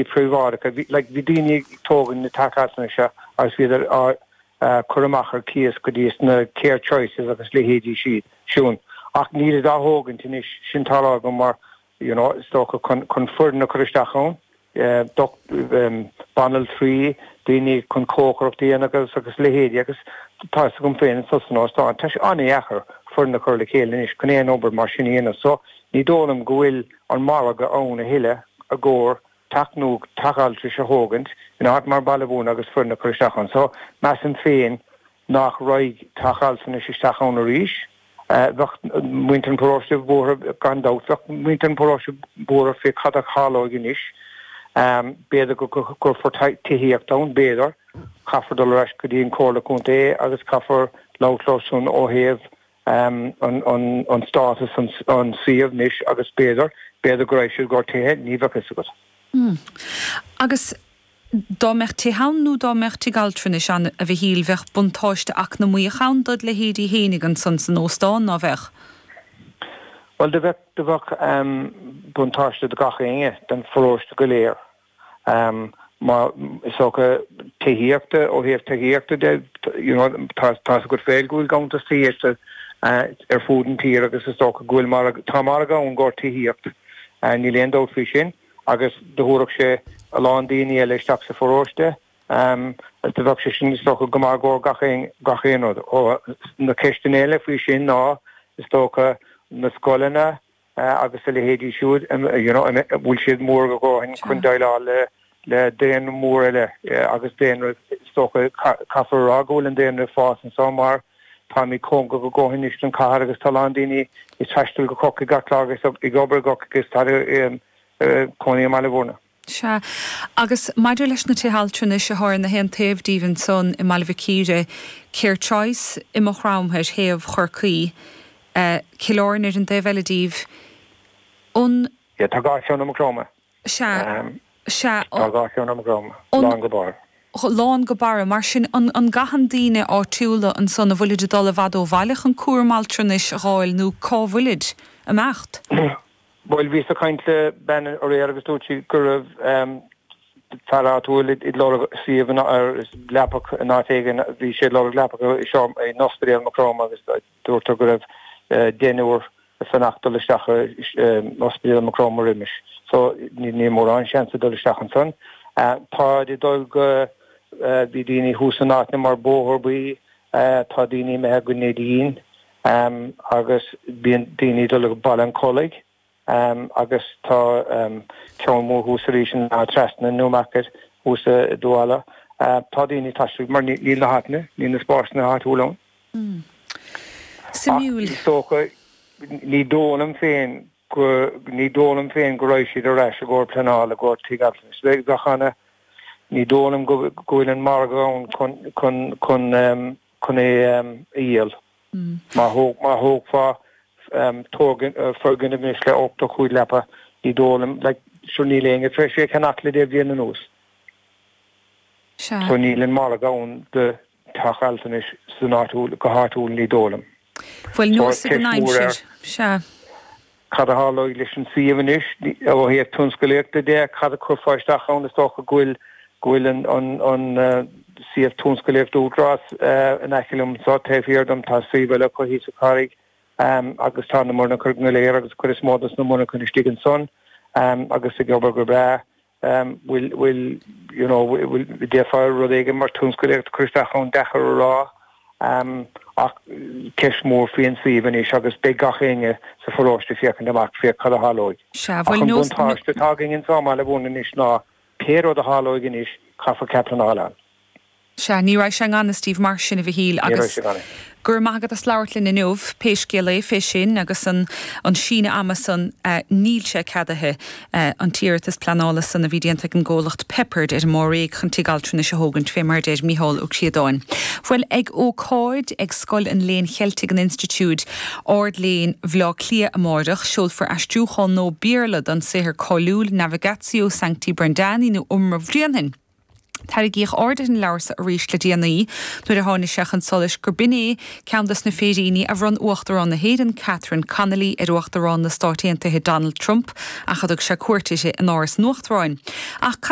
Príobháideacha, bhí, like, bhí daoine ag tógaint na teach altranais seo agus bhíodar á cur amach ar cíos go dtí sna Care Choices agus leithéidí siad siún. Ach nílid á thógaint anois, sin tá a rá agam mar, you know, is dócha chun, chun foireann a chur isteach ann, doc, banaltraí, daoine chun cócaireacht a dhéanamh agus, agus leithéidí agus tá fhios agam féin anso san óstán, tá sé an-dheacair foireann a chur le chéile anois chun aon obair mar sin a dhéanamh. So, ní dóigh liom go bhfuil an margadh ann a thuilleadh i gcomhair teach nua, teach altrais a thógaint in áit mar Baile Bhúirne agus foireann a chur isteach ann. So, measaim féin nach raghaidh teach altranais isteach ann arís. Bheadh muintir an pharóiste buartha, gan dabht, bheadh muintir an pharóiste buartha fé cad a tharlóidh anois. B'fhéidir go gcuirfear tithíocht ann, b'fhéidir. Caithfear dul ar ais go dtí an Chomhairle Contae agus caithfear labhairt leo san ó thaobh an státas an suíomh anois agus b'fhéidir, b'fhéidir go raghaidh siad i gcomhair tithe, ní bheadh fhios agat. Agus dá mbeadh tithe ann nó dá mbeadh tigh altranais ann, a Mhichíl, bheadh buntáiste eacnamaíoch ann dod leithéidí fhéinig ansan san óstán, ná bheadh? Bhuel, do bheadh, do bheadh buntáiste do gach éinne, don pharóiste go léir. Má, is dócha, tithíochta, ó thaobh tithíochta de, you know, tá tá fhios agat féin go bhfuil ganntanas tithíochta ar fud an tír agus is dócha go bhfuil margadh, tá margadh ann i gcomhair tithíocht, níl aon dabht faoi sin, agus do thabharfadh sé a lán daoine eile isteach sa pharóiste, agus do bheadh sé sin is dócha go maith i gcomhair gach aon, gach aon rud. Ó, na ceisteanna eile faoi sin ná, is dócha, na scoileanna, agus a leithéidí siúd, you know, an bhfuil siad mór a dhóthain chun déileáil le le daonra mór eile agus daonra, is dócha, caithfear a rá go bhfuil an daonra ag fás anseo mar táimid cóngarach a dhóthain anois don chathair agus tá a lán daoine ag taisteal go Corcaigh gach lá agus ag obair i gCorcaigh agus tá cónaí i mBaile Bhúirne. Sea. Agus maidir leis na tithe altranais atá ar na haon taobh díbh ansan i mBaile Mhic Íre, Care Choice i Maigh Chromtha thaobh Chorcaí, Cill Airne ar an dtaobh eile díbh, an. Yeah, tá dhá cheann i Maigh Chromtha. Sea, sea. Tá dhá cheann i Maigh Chromtha, lán go barr. Lán go barra. Mar sin, an an gcaitheann daoine áitiúla ansan, an bhfuilid ag dul i bhfad ó bhaile chun cúram altranais a dh'fháil nó cá bhfuilid ag imeacht? Bhuel, bhíos ag caint le bean aréir agus dúirt sí go raibh fear áitiúil ag lorg suíomh ar leapacha in áit éigin, bhí sé ag lorg leapacha i seomra in ospidéal Maigh Chromtha agus dúrtar go raibh deichniúr ag fanacht dul isteach in ospidéal Maigh Chromtha roimis. So níl mórán seans ag dul isteach ansan. Táid ag dul go, bhí daoine thuas in áiteanna mar Bóthar Buí, tá daoine imithe go Neidín, agus bíonn daoine ag dul go Baile an Chollaigh agus tá ceann mór thuas arís in Áth Trasna, Newmarket, thuas i dTuala. Tá daoine ag taisteal mar níl na háiteanna, níl na spásanna áitiúla ann. Suimiúil. Ach is dócha, ní dóigh liom féin go, ní dóigh liom féin go raghaidh siad ar ais i gcomhair pleanála, i gcomhair tigh altranais. Bheadh ana, ní dóigh liom go bhfuil an margadh ann chun, chun, chun, chun é a dhíol. Má thógfá foirgneamh anois le 85 leapa, ní dóigh liom, like, sure níl éinne tar éis é a cheannach le deich mbliana anuas. Sea. So níl an margadh ann do theach altranais san áitiúil, go háitiúil, ní dóigh liom. Bhuel, So neosfaidh an ceist mhór aimsir. ar. Sea. Cad a tharlóidh leis an suíomh anois ó thaobh tionscalaíochta de? Cad a chuirfeá isteach ann? Is dócha go bhfuil go bhfuil an an suíomh tionscalaíochta Údarás in aice liom anseo, taobh thiar dom tá suíomh eile acu thíos sa Charraig agus tá na monarchana go léir agus cuid is mó dos na monarchana istigh ansan agus ag obair go breá. bhfuil, bhfuil, you know, bhfuil, d'fhéadfá rud éigin mar tionscalaíocht a chur isteach ann, deacair a rá, ach ceist mhór faoin suíomh anois agus beidh gach éinne sa pharóiste ag féachaint amach féach cad a tharlóidh. Sea, Ach bhuel, an nós, buntáiste atá againn anseo i mBaile Bhúirne anois ná pé rud a tharlóidh anois, caithfear cead pleanála a fháil. Sea, ní raghaidh sé i ngan fhios daoibh mar sin, a Mhichíl, Ní raghaidh agus sé i ngan fhios. go raibh maith agat as labhairt linn inniu, pé scéal é fé sin agus an an síneadh ama san, níl sé ceadaithe, an t-iarratas pleanála san a bhí déanta ag an gcomhlacht Peppard ar an Bháréag chun tigh altranais a thógaint, fé mar a deir Micheál Ó Críodáin. Bhuel, ag ócáid ag Scoil an Léinn Cheiltigh in Institiúid Ard-Léinn Bhaile Átha Cliath amáireach, seolfar aistriúchán nua Béarla den saothar cáiliúil Navigatio Sancti Brendani nó Iomramh Bhréanainn. Tarraingíodh aird ar an leabhar so arís le déanaí nuair a tháinig sé chun solais gur b'in é ceann dos na féiríní a bhronn Uachtarán na hÉireann Catherine Connolly ar Uachtarán na Stáit Aontaithe Donald Trump ach a dtug sé cuairt uirthi in Áras an Uachtaráin. Ach.